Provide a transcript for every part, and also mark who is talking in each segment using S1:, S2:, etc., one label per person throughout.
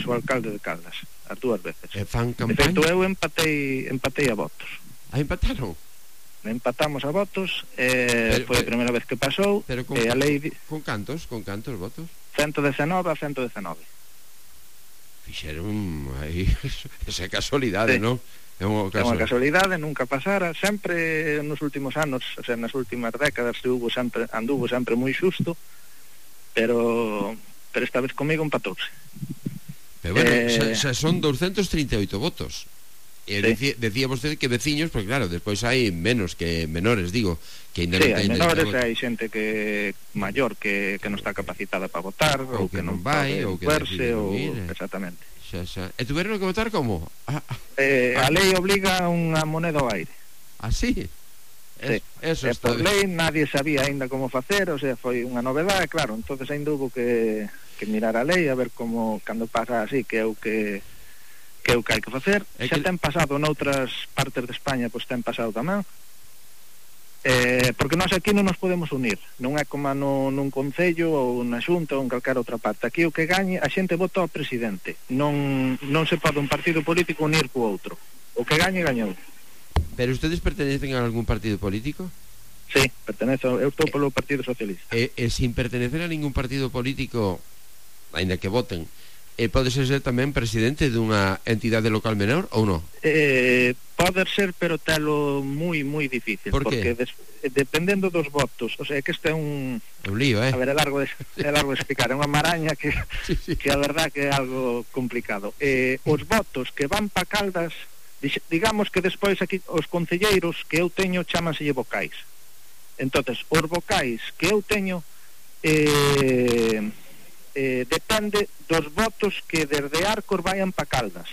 S1: o alcalde de Caldas, as dúas veces.
S2: Fan
S1: De
S2: campaña?
S1: feito, eu empatei a votos.
S2: Empataron?
S1: Empatamos a votos, foi a
S2: pero-
S1: primeira vez que pasou,
S2: Pero con,
S1: e a lei
S2: con cantos votos?
S1: 119 a 119.
S2: Fixeron aí esa casualidade,
S1: Sí.
S2: non? É unha
S1: É unha casualidade, nunca pasara, sempre nos últimos anos, o sea, nas últimas décadas anduvo sempre moi xusto, pero esta vez comigo empatouse.
S2: Pero bueno, xa son 238 votos. E
S1: Sí.
S2: decía vostede que veciños, porque claro, despois hai menos que menores, digo, que ainda
S1: Sí,
S2: non
S1: hai
S2: teñen
S1: menores,
S2: dereito a voto.
S1: hai xente que maior que non está capacitada para votar, ou que non
S2: vai,
S1: pode
S2: ou que
S1: verse,
S2: decide
S1: ou
S2: non ir.
S1: exactamente.
S2: Xa. E tuveron que votar como?
S1: A lei obliga unha moneda ao aire.
S2: Así?
S1: Sí.
S2: Eso está
S1: Por lei nadie sabía aínda como facer, o sea, foi unha novedade, claro, entonces aínda hubo que mirar a lei a ver como cando pasa así, que é o que hai que facer. Xa ten pasado noutras partes de España, pois ten pasado tamén, porque nós aquí non nos podemos unir, non é como nun concello ou na xunta ou en calquera outra parte. Aquí o que gañe, a xente vota ao presidente, non se pode un partido político unir co outro, o que gañe, gañou.
S2: Pero ustedes pertenecen a algún partido político?
S1: Sí, eu estou polo Partido Socialista.
S2: E sin pertenecer a ningún partido político, aínda que voten, pode ser tamén presidente dunha entidade local menor ou non?
S1: Pode ser, pero telo moi difícil.
S2: Por que?
S1: Porque dependendo dos votos, o sea, que este é un
S2: lío,
S1: a ver, é largo de explicar, é unha maraña que
S2: sí.
S1: que a verdad que é algo complicado. Os votos que van pa Caldas, digamos que despois aquí os concelleiros que eu teño chámanselle vocais. Entonces, os vocais que eu teño depende dos votos que desde Arcos vayan pa Caldas.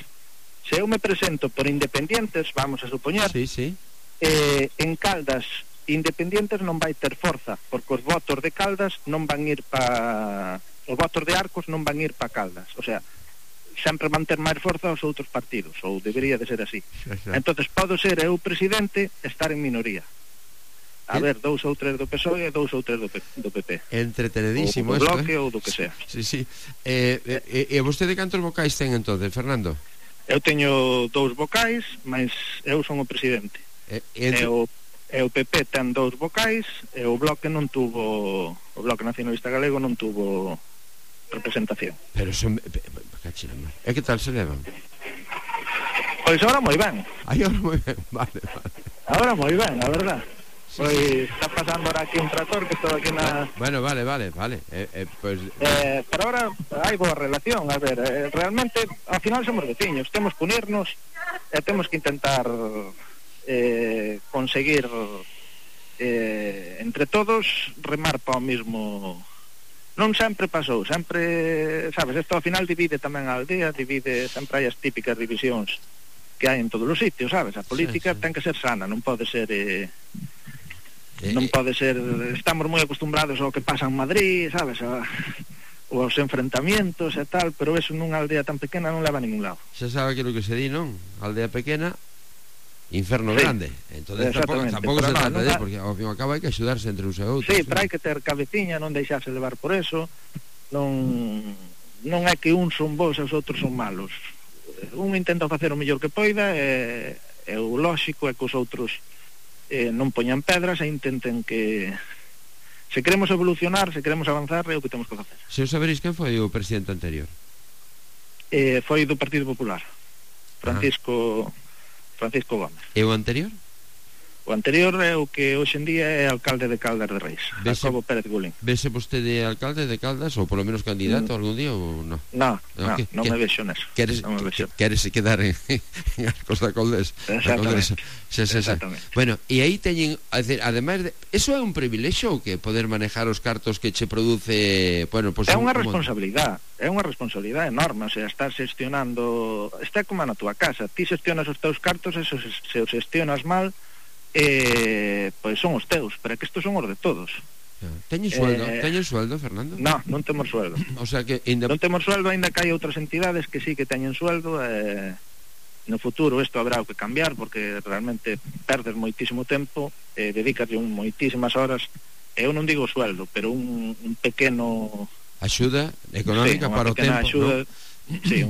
S1: Se eu me presento por independientes, vamos a supoñer,
S2: sí.
S1: En Caldas independientes non vai ter forza, porque os votos de Caldas non van ir os votos de Arcos non van ir pa Caldas, o sea, sempre van ter máis forza os outros partidos, ou debería de ser así. Entonces podo ser eu presidente, estar en minoría. A ver, 2 ou 3 do PSOE e 2 ou 3 do PP.
S2: Entretenedísimo
S1: isto,
S2: isto,
S1: bloque ou do que sea.
S2: Sí. E vostede cantos vocais ten entonces, Fernando?
S1: Eu teño 2 vocais, mas eu son o presidente. E o PP ten 2 vocais, e o Bloque non tuvo, o Bloque Nacionalista Galego non tuvo representación.
S2: Pero son... E que tal se levan?
S1: Pois agora moi ben.
S2: Agora moi ben, vale.
S1: Agora moi ben, a verdad. Pois está pasando ahora aquí un trator que estou aquí na...
S2: Bueno, vale. Pues...
S1: Pero ahora hai boa relación, a ver, realmente ao final somos veciños, temos que unirnos e temos que intentar conseguir entre todos remar para o mismo. Non sempre pasou, sempre, sabes, isto ao final divide tamén a aldea, sempre hai as típicas divisións que hai en todos os sitios, sabes? A política ten que ser sana, non pode ser estamos moi acostumbrados ao que pasa en Madrid, sabes, ou aos enfrentamientos e tal, pero eso nunha aldea tan pequena non leva a ningún lado.
S2: Xa sabe aquilo que se di, non? Aldea pequena, inferno grande. Entonces tampouco se trata de, porque ao fin e ao cabo hai que axudarse entre uns e outros.
S1: Sí, pero hai que ter cabeciña, non deixarse levar por eso, non é que uns son bons e os outros son malos. Un intenta facer o mellor que poida e o lóxico é que os outros non poñan pedras e intenten que se queremos evolucionar, se queremos avanzar, é o que temos que facer.
S2: Se os saberéis quen foi o presidente anterior?
S1: Foi do Partido Popular, Francisco Gómez.
S2: E o anterior?
S1: O anterior é o que hoxe en día é alcalde de Caldas de Reis, Jacobo Pérez Gulín.
S2: Vese vostede alcalde de Caldas ou polo menos candidato algún día ou non?
S1: Non me vexo neso. Queres
S2: quedar en Arcos da Coldesa? Exactamente. Bueno, e aí teñen, ademais de... Eso é un privilexio ou que poder manejar os cartos que che produce... Bueno, pues,
S1: é unha responsabilidade enorme, o sea, estás xestionando... Está como na túa casa, ti xestionas os teus cartos e se os xestionas mal... pois son os teus, pero que estos son os de todos.
S2: Teñen sueldo, Fernando?
S1: Non temos sueldo.
S2: O sea que
S1: non temos sueldo, ainda que hai outras entidades que sí que teñen sueldo. No futuro isto habrá que cambiar, porque realmente perdes moitísimo tempo, dedícate moitísimas horas. Eu non digo sueldo, pero un pequeno
S2: axuda económica para o tempo,
S1: axuda, sí, unha